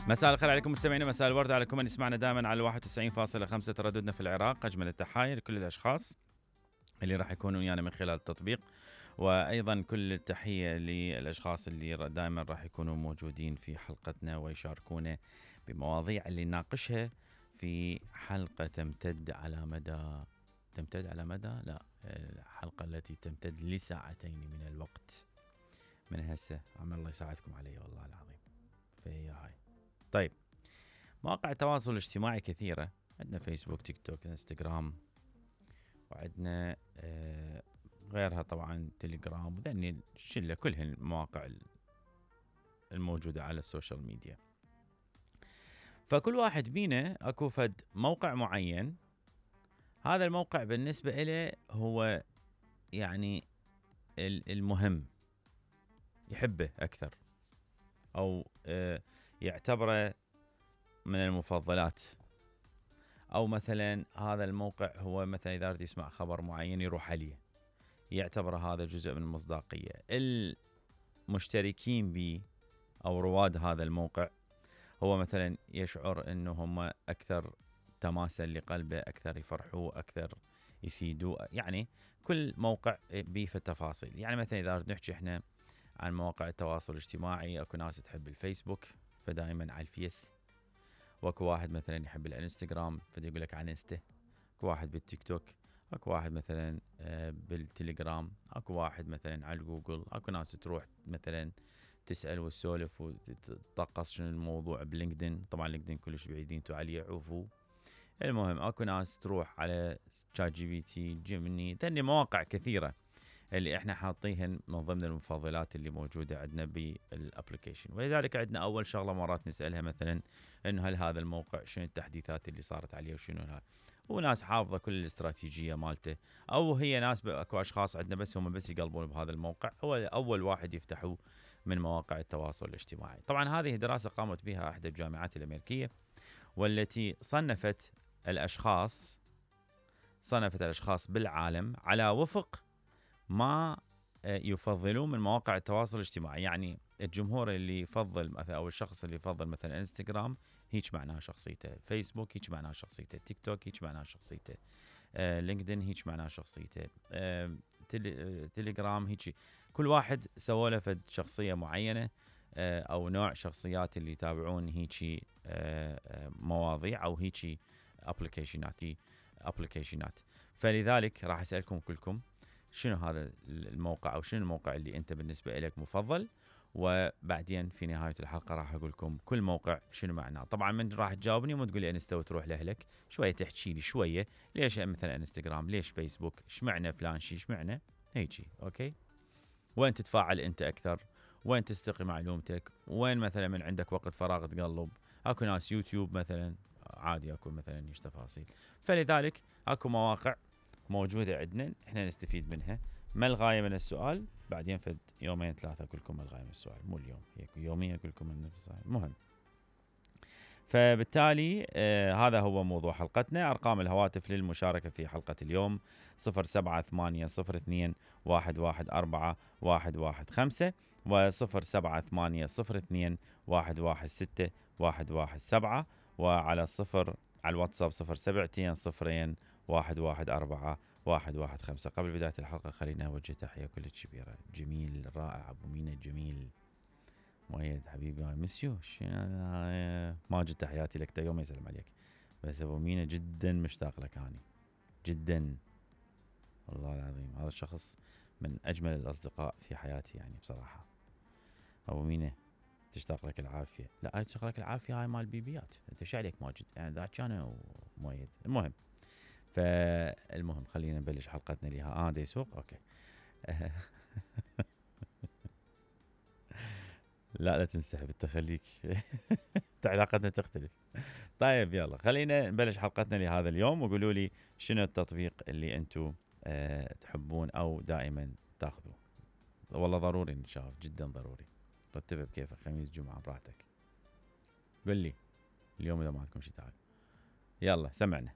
مساء الخير عليكم مستمعينا، مساء الورد عليكم من يسمعنا دائما على 91.5 ترددنا في العراق. أجمل التحايا لكل الأشخاص اللي راح يكونوا ويانا من خلال التطبيق، وأيضا كل التحية للأشخاص اللي دائما راح يكونوا موجودين في حلقتنا ويشاركونا بمواضيع اللي نناقشها في حلقة تمتد على مدى الحلقة التي تمتد لساعتين من الوقت من هسه. عمل الله يساعدكم علي والله العظيم. فهي هاي. طيب، مواقع التواصل الاجتماعي كثيرة، عندنا فيسبوك، تيك توك، انستغرام، وعندنا غيرها طبعا تليجرام، وذني الشلة كلهن المواقع الموجودة على السوشيال ميديا. فكل واحد بينا اكو فد موقع معين، هذا الموقع بالنسبة إله هو يعني المهم، يحبه أكثر أو يعتبره من المفضلات. أو مثلا هذا الموقع هو مثلا إذا أريد يسمع خبر معين يروح عليه، يعتبر هذا جزء من المصداقية. المشتركين به أو رواد هذا الموقع هو مثلا يشعر أنه هم أكثر تماسا لقلبه، أكثر يفرحوه، أكثر يفيدوه. يعني كل موقع به في التفاصيل. يعني مثلا إذا أريد نحكي إحنا عن مواقع التواصل الاجتماعي، أكو ناس تحب الفيسبوك فدائما على الفيس، واكو واحد مثلا يحب الانستغرام فدي يقول لك عن انستا، اكو واحد بالتيك توك، اكو واحد مثلا بالتليجرام، اكو واحد مثلا على جوجل، اكو ناس تروح مثلا تسأل وتسولف وتطقص شنو الموضوع بلينكدين. طبعا لينكدين كلش بعيدين تو عليه، عوفوا. المهم اكو ناس تروح على شات جي بي تي، جيميني، ثاني مواقع كثيرة اللي احنا حاطيهن من ضمن المفضلات اللي موجودة عندنا بالابليكيشن. ولذلك عندنا اول شغلة مرات نسألها مثلا انه هل هذا الموقع شنو التحديثات اللي صارت عليه وشنو هذا، وناس حافظة كل الاستراتيجية مالته، او هي ناس اكو اشخاص عندنا بس هم بس يقلبون بهذا الموقع، هو اول واحد يفتحوه من مواقع التواصل الاجتماعي. طبعا هذه دراسة قامت بها احدى الجامعات الامريكية، والتي صنفت الاشخاص بالعالم على وفق ما يفضلون من مواقع التواصل الاجتماعي. يعني الجمهور اللي يفضل مثلا، او الشخص اللي يفضل مثلا انستغرام، هيك معناها شخصيته. فيسبوك هيك معناها شخصيته. تيك توك هيك معناها شخصيته. لينكدين هيك معناها شخصيته. تليجرام هيك. كل واحد سوى له فد شخصية معينة، او نوع شخصيات اللي يتابعون هيك مواضيع او هيك ابليكيشنات. فلذلك راح اسالكم كلكم شنو هذا الموقع، او شنو الموقع اللي انت بالنسبه لك مفضل، وبعدين في نهايه الحلقه راح اقول لكم كل موقع شنو معناه. طبعا من راح تجاوبني مو تقول لي انستا وتروح لاهلك، شويه تحكي لي شويه ليش مثلا انستغرام، ليش فيسبوك، اشمعنى فلان شيء، اشمعنى هيجي. اوكي، وين تتفاعل انت اكثر، وين تستقي معلومتك، وين مثلا من عندك وقت فراغ تقلب. اكو ناس يوتيوب مثلا عادي، اكو مثلا ايش تفاصيل. فلذلك اكو مواقع موجودة عندنا احنا نستفيد منها. ما الغاية من السؤال؟ بعدين فد يومين ثلاثة اقول لكم الغاية من السؤال، مو اليوم، هيك يوميا اقول لكم السؤال مهم. فبالتالي هذا هو موضوع حلقتنا. ارقام الهواتف للمشاركة في حلقة اليوم 07802 114 115 و07802 116 117 وعلى على الواتساب 072 02 114 115. قبل بداية الحلقة خلينا أوجه تحية كل كبيرة. جميل رائع أبو مينا الجميل مؤيد حبيبي مسيو ماجد تحياتي لك، يوم يسلم عليك. بس أبو مينا جدا مشتاق لك هاني جدا والله العظيم. هذا الشخص من أجمل الأصدقاء في حياتي يعني بصراحة. أبو مينا تشتاق لك العافية. لا تشتاق لك العافية هاي مال بيبيات، أنت شو عليك ماجد يعني ذاك كان ومؤيد. المهم فالمهم خلينا نبلش حلقتنا لها. دي سوق اوكي. لا تنسحب انت، خليك علاقتنا تختلف. طيب يلا خلينا نبلش حلقتنا لهذا اليوم، وقولوا لي شنو التطبيق اللي انتم تحبون او دائما تاخذوه. والله ضروري نشاف، جدا ضروري. رتبها بكيفك، خميس جمعة براحتك. قل لي اليوم اذا ما عندكم شيء تعال. يلا سمعنا.